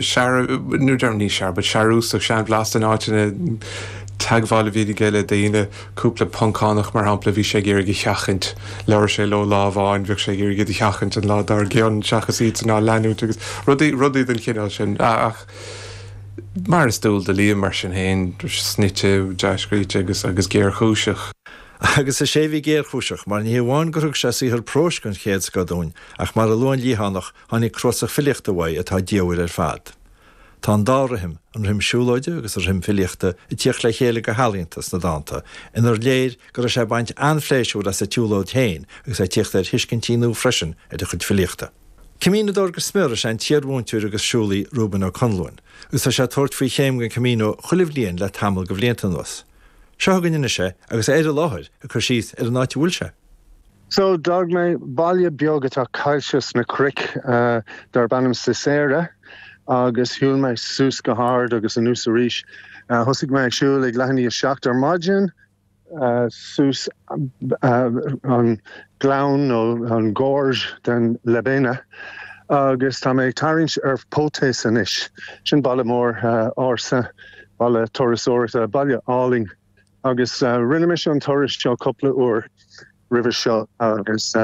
Sear, nó deirim ní sear, but searúsach, seanbhlasta in áiteanna, teagmháil a bhí aige le daoine, cúpla Poncánach mar shampla, bhí sé ag iarraidh a sheachaint, labhair sé leo lá amháin, bheadh sé ag iarraidh iad a sheachaint an lá dár gcionn seachas iadsan á leanúint agus rudaí, rudaí den chineál sin. Ach mar is dual do Liam mar sin féin, snoite, dea-scríte agus, agus géarchúiseach. Agus is é a bhí géarchúiseach, mar ní hé amháin gur thug sé saothar próis den chéad scoth dúinn, ach mar a luann an Liathánach, Tháinig cnuasach filíochta uaidh atá diamhair ar fad. Tá an dá rithim, an rithim siúlóide agus an rithim filíochta, ag tíocht le chéile go healaíonta sna dánta, inar léir go raibh sé ag baint an-phléisiúr as an tsiúlóid féin agus é ag tíocht ar thuiscintí nua freisin ar a chuid filíochta. Camínodóir go smior is ea an t-iarmhúinteoir agus siúlaí Reuben Ó Conluain, agus tá sé ag tabhairt faoi chéim den Camino chuile bhliain le tamall de bhlianta anuas. Seo chugainn anois é agus é ar an láthair ag cur síos ar an áit a bhfuil sé. So, d'fhág mé baile beag atá caillte sna cnoic darb ainm Cecera agus shiúil mé suas go hard agus anuas arís. Thosaigh mé ag siúl ag leath i ndiaidh 7 ar maidin, suas an gleann nó an gorge den Lebena agus tá mé ag tarraingt ar Potes anois. Sin baile mór ársa, baile turasóireachta, baile álainn. Agus rinne mise an turas seo cúpla uair roimhe seo agus i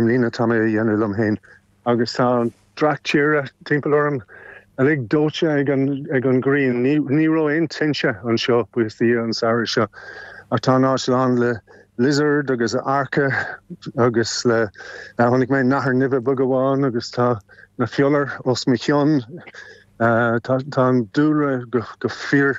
mbliana tá mé a dhéanamh liom féin. Agus tá an dreach tíre timpeall orm uilig dóite ag an ag an ghrian. Ní ní raibh aon tinte anseo, buíochas do Dhia, an samhradh seo. Ach tá an áit lán le lizard agus earca agus le chonaic mé nathair nimhe beag amháin agus tá na fiolair os mo chionn. Tá an dúlra go fíor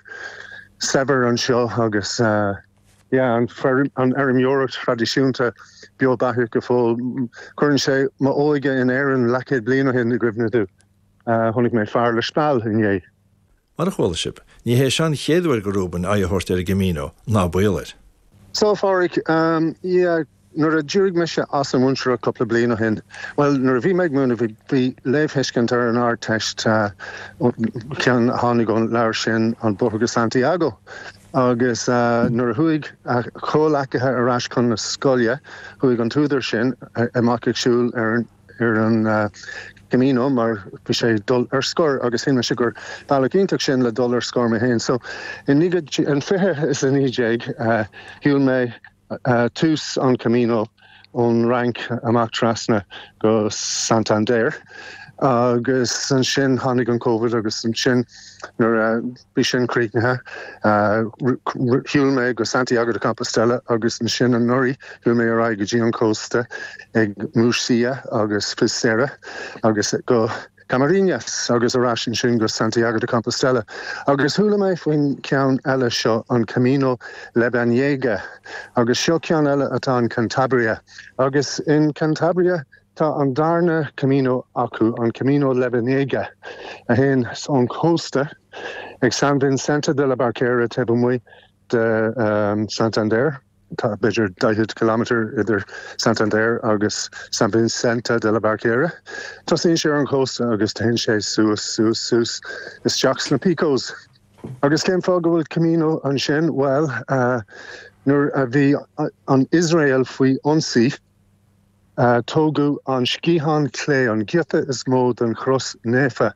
saibhir anseo agus yeah an fheirmeoireacht thraidisiúnta beo beathach go fóill. Cuireann sé m'óige in Éirinn leathchéad bliain ó shin i gcuimhne domh. Chonaic mé fear le speal inné. Mar a chuala sibh, ní hé seo an chéad uair do Reuben aghaidh a thabhairt ar an gCamino, ná baol air. So, a Phádraig, yeah, Nuair a d'éirigh mise as an mhúinteoireacht cúpla bliain ó shin, bhuel, nuair a bhí mé ag múineadh, bhí, bhí léamhthuiscint ar an Ardteist, ceann a tháinig ón leabhar sin, An Bóthar go Santiago. Agus nuair a chuaigh a chomhleacaithe ar ais chun na scoile, chuaigh an t-údar sin amach ag siúl ar an, ar an Camino mar bhí sé ag dul ar scor agus shíl mise gur bealach iontach sin le dul ar scor mé féin. So, in 2019, shiúil mé tús an Camino ón Fhrainc amach trasna go Santander agus ansin tháinig an Covid agus ansin nuair a bhí sin críochnaithe shiúil mé go Santiago de Compostela agus ansin anuraidh shiúil mé ar aghaidh go dtí an cósta ag Muxía agus Fisterra agus go Camariñas agus ar ais ansin go Santiago de Compostela. Agus chuala mé faoin cheann eile seo, an Camino Lebaniego, agus seo ceann eile atá in Cantabria. Agus in Cantabria tá an darna Camino acu, an Camino Lebaniego, a théann ón chósta ag San Vincente de la Barquera taobh amuigh de Santander. Tá b'fhéidir 40 kilometre idir Santander agus San Vicente de la Barquera. Tosaíonn sé ar an chósta agus téann sé suas, suas, suas isteach sna Picos. Agus cén fáth go bhfuil Camino ansin? Bhuel, nuair a bhí an Iosrael faoi ionsaí, tógadh an sciathán clé, an giota is mó den chros naofa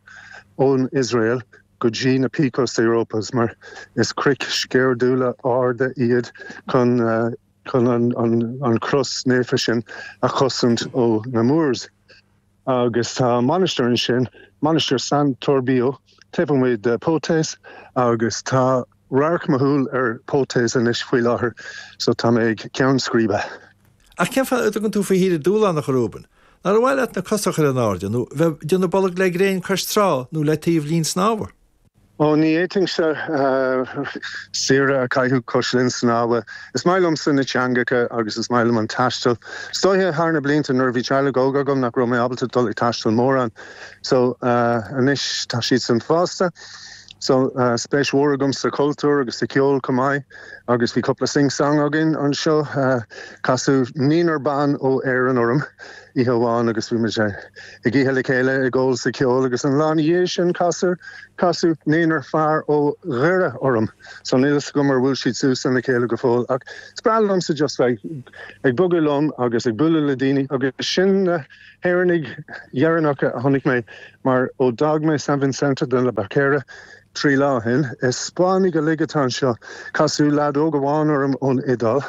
ón Iosrael go dtí na Picos de Europa mar is cnoic sceirdiúla arda iad chun chun an chros naofa sin a chosaint ó na Moors. Agus tá mainistir ansin, Mainistir San Torbio, taobh amuigh de Potes agus tá radharc mo shúl ar Potes anois faoi láthair so tá mé ag ceann scríbe. Ach cén fáth a dtugann tú faoi shaoire dúshlánach, a Reuben? Nár mhaith leat na cosa a chur in airde nó bheith ag déanamh bolg le gréin cois trá nó le taobh linn snámha? Ó, ní fhéadfainnse saoire a chaitheamh cois linn snámha. Is maith liomsa na teangacha agus is maith liom an taisteal. Is dóiche thar na blianta nuair a bhí teaghlaigh óg agam nach raibh mé ábalta dul ag taisteal mórán. So, anois tá siadsan fásta. So, spéis mhór agam sa chultúr agus sa cheol chomh maith. Agus bhí cúpla sing-song againn anseo. Casadh naonúr ban ó Éirinn orm. oíche amháin agus bhí muid ag ithe le chéile, ag ól is ag ceol agus an lá ina dhiaidh sin casadh, casadh naonúr fear ó Dhoire orm so níl fhios agam ar bhuail siad suas lena chéile go fóill ach is breá liomsa just bheith ag bogadh liom agus ag bualadh le daoine agus sin na hÉireannaigh dheireanacha a chonaic mé mar ó d'fhág mé San Vicente de la Barquera 3 lá ó shin, is Spáinnigh uilig atá anseo. Casadh leaid óg amháin orm ón Iodáil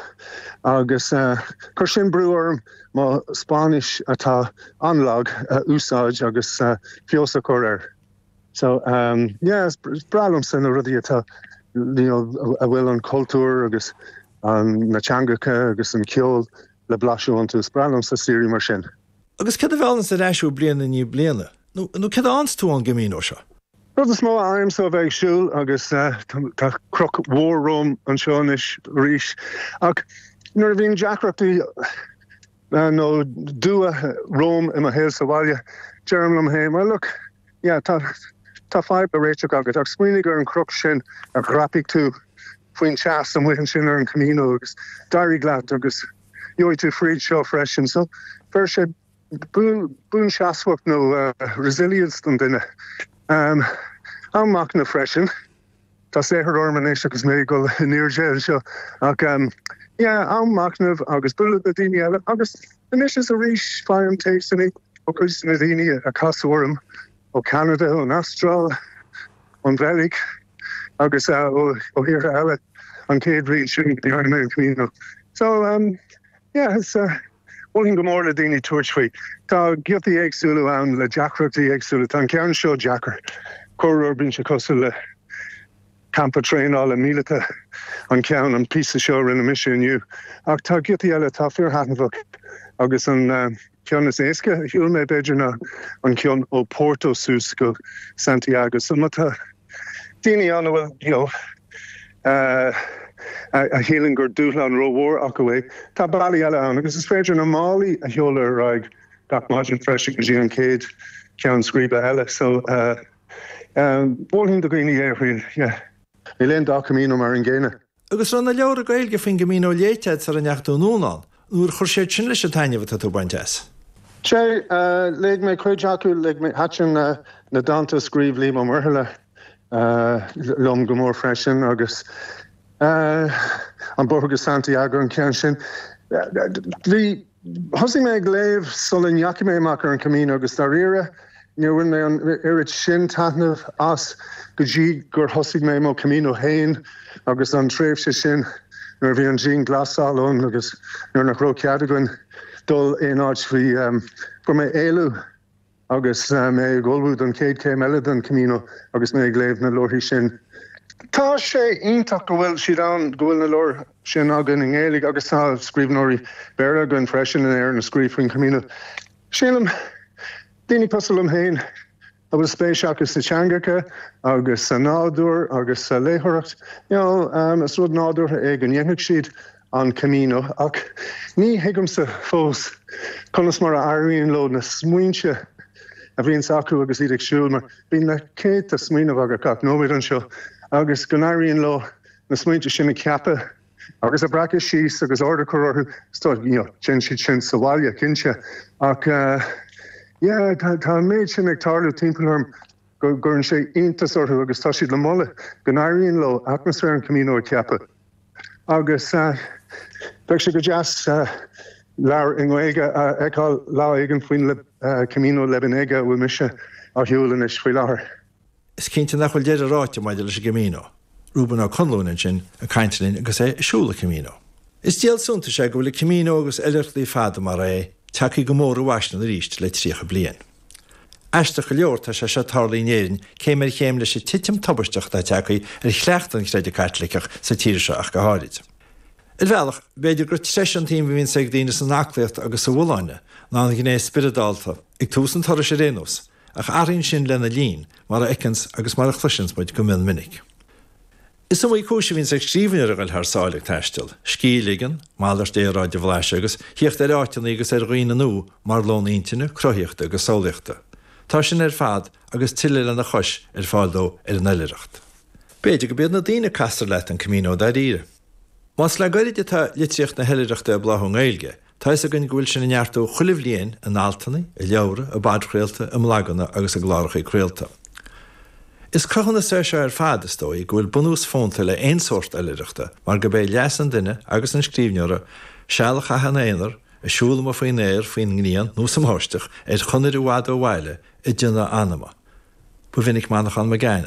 agus chuir sin brú orm mo Spáinnis atá an-lag a úsáid agus feabhas a chur air. So yeah, is breá liomsa na rudaí atá, you know, a bhfuil an cultúr agus na teangacha agus an ceol le blaiseadh iontu. Is breá liomsa saoirí mar sin. Agus céard a mheallanns ar ais thú bliain i ndiaidh bliana? Nó céard a fhaigheanns tú ón gCamino seo? Rud is mó a fhaighimse ó bheith ag siúl agus tá cnoc mhór romham anseo anois arís ach nuair a bhíonn deacrachtaí nó dua romham i mo shaol sa bhaile deirim liom féin well look yeah tá tá fadhb le réiteach agat ach smaoinigh ar an chnoc sin a dhreapaigh tú faoin teas amuigh ansin ar an Camino agus d'éirigh leat agus gheobhaidh tú fríd seo freisin. So bheir sé buanseasmhacht nó resilience don duine. Am machnaimh freisin. Tá saothar orm anois agus mé ag dul in airde anseo ach yeah, am machnaimh agus bualadh le daoine eile agus anois is arís faighim téacsanna ó chuid de na daoine a casadh orm ó Cheanada, ón Astráil, ón Bheilg agus ó thíortha eile an chéad bhliain sin go ndearna mé an Camino. So yeah, is mholfainn go mór le daoine tabhairt faoi. Tá giotaí éagsúla ann le deacrachtaí éagsúla. Tá an ceann seo deacair. Corruair bíonn sé cosúil le campa traenála míleata an ceann, an píosa seo a rinne mise inniu. Ach tá giotaí eile atá fíorthaitneamhach agus an ceann is éasca a shiúil mé b'fhéidir ná an ceann ó Porto suas go Santiago. So má tá daoine ann a bhfuil, you know, a shíleann gur dúshlán rómhór acu é, tá bealaí eile ann agus is féidir na málaí a sheoladh ar aghaidh gach maidin freisin go dtí an chéad cheann scríbe eile. So mholfainn do dhaoine é a thriail, yeah. Níl aon dá Camino mar an gcéanna. Agus raibh na leabhra Gaeilge faoin gCamino léite agat sara ndeachaigh tú anonn ann, nó ar chuir siad sin leis an taitneamh atá tú ag baint as? Sea, léigh mé cuid acu, léigh mé, thaitin na dánta a scríobh Liam Ó Muirthile liom go mór freisin agus An Bóthar go Santiago, an ceann sin. Bhí. Thosaigh mé ag léamh sula ndeachaigh mé amach ar an Camino agus dáiríre níor bhain mé an oiread sin taitneamh as go dtí gur thosaigh mé mo Camino féin agus an tréimhse sin nuair a bhí an dianghlasáil ann agus nuair nach raibh cead againn dul aon áit bhí fuair mé éalú Agus mé ag ullmhú don chéad chéim eile den Camino agus mé ag léamh na leabharthaí sin. Tá sé iontach go bhfuil siad ann, go bhfuil na leabhair sin againn i nGaeilge agus tá scríbhneoirí Béarla againn freisin in Éirinn a scríobh faoin Camino. Sílim, daoine cosúil liom féin a bhfuil spéis acu sna teangacha agus sa nádúr agus sa léitheoireacht, you know, is rud nádúrtha é go ndéanfadh siad an Camino, ach ní thuigimse fós conas mar a éiríonn leo na smaointe a bhíonns acu agus iad ag siúl, mar bíonn na céadta smaoineamh agat gach nóiméad anseo, agus go n-éiríonn leo na smaointe sin a cheapadh agus a bhreacadh síos agus ord a chur orthu. Is dóigh, you know, déanann siad sin sa bhaile, cinnte, ach yeah, tá an méid sin ag tarlú timpeall orm go gcuireann sé iontas orthu agus tá siad le moladh go n-éiríonn leo atmaisféar an Camino a cheapadh. Agus bheadh sé go deas leabhar i nGaeilge a fheiceáil lá éigin faoin Camino Lebaniego a bhfuil mise á shiúl anois faoi láthair. Is cinnte nach bhfuil deireadh ráite maidir leis an gCamino. Reuben Ó Conluain ansin ag caint linn agus é ag siúl an Camino. Is díol suntais é go bhfuil an Camino agus oilithreachtaí fada mar é tagtha go mór i bhfaisean arís le 30 bliain. Aisteach go leor, tá sé seo tarlaithe in Éirinn céim ar chéim leis an titim tubaisteach atá tagtha ar chleachtadh an chreidimh Chaitliceach sa tír seo ach go háirid. Ar bhealach, b'fhéidir gur treise an tsuim a bhíonns ag daoine san aclaíocht agus sa bhfolláine ná an ghné spioradálta, ag tús an turais ar aon nós, ach athraíonn sin lena linn, mar a fheiceanns agus mar a chloiseanns muid go mion minic. Is iomaí cúis a bhíonns ag scríbhneoir a ghoil thar sáile ag taisteal, scíth a ligean, malairt aeráide a bhlaiseadh agus thíocht ar áiteanna agus ar dhaoine nua mar lón intinne, cruthaíochta agus samhlaíochta. Tá sin ar fad agus tuilleadh lena chois ar fáil dó ar an oilithreacht. B'fhéidir gurb iad na daoine a castar leat an Camino dáiríre. Más le goirid atá litríocht na hoilithreachta ag bláthú i nGaeilge, Tá fhios againn go bhfuil sin ag neartú chuile bhliain in altanna, i leabhra, i bpodchraolta, i mblaganna agus i gclárachaí craolta. Is cruthúnas é seo ar fad, is dóigh, go bhfuil bunús fónta le aon sórt oilithreachta mar gurb é leas an duine agus an scríbhneora seal a chaitheamh ina aonar, ag siúl amuigh faoin aer, faoin ngrian nó sa mbáisteach, ar chonair i bhfad ó bhaile, ag déanamh anama. Ba mhinic Manchán Magan.